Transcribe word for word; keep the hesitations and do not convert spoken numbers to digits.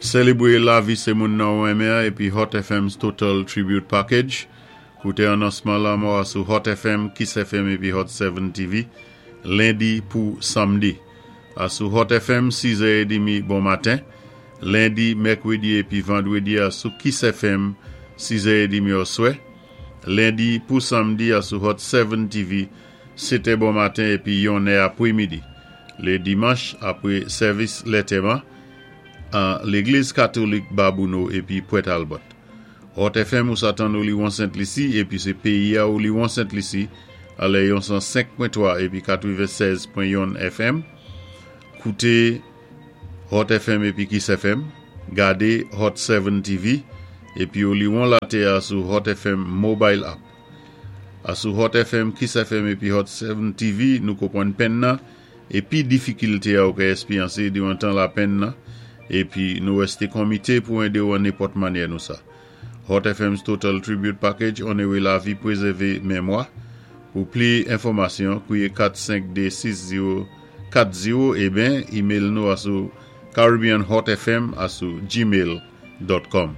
Sélébwé lavi sé moun nan ou renmen épi Hot F M's Total Tribute Package. Kouté anonsman lanmò sou Hot F M, Kiss F M épi Hot sept T V, lendi pou samdi. A sou Hot F M, sis è trant bon maten. Lendi, mèkwédi épi vandwédi a sou Kiss F M, sis è trant oswè. Lendi pou samdi a sou Hot sept T V, sèt è bon maten épi yon è apwé midi. Lé dimanch, apwé sèvis lantèman, an Légliz Katolik Babouno épi Port Albert. Hot F M ou sa tann ou liwon Sent Lisi épi sé péyi a ou liwon Sent Lisi alè yon san senk pwen twa épi katwennsèz pwen youn F M. Kouté Hot F M épi Kiss F M, gadé Hot sept T V épi ou liwon latè a sou Hot F M Mobile App. A sou Hot F M, Kiss F M épi Hot sept T V, nou konpwann penn nan épi difikilté a ou ka èspéryansé diwan tan lapenn nan épi nou wèsté konmité pou édé ou an nenpòt mannyè nou sa. Hot F M's Total Tribute Package, onoré lavi, pwézèvé mémwa. Pou pli enfòmasyon, kwiyé kat senk de sis zewo kat zewo ében email nou a sou caribbeanhotfm a sou gmail dot com.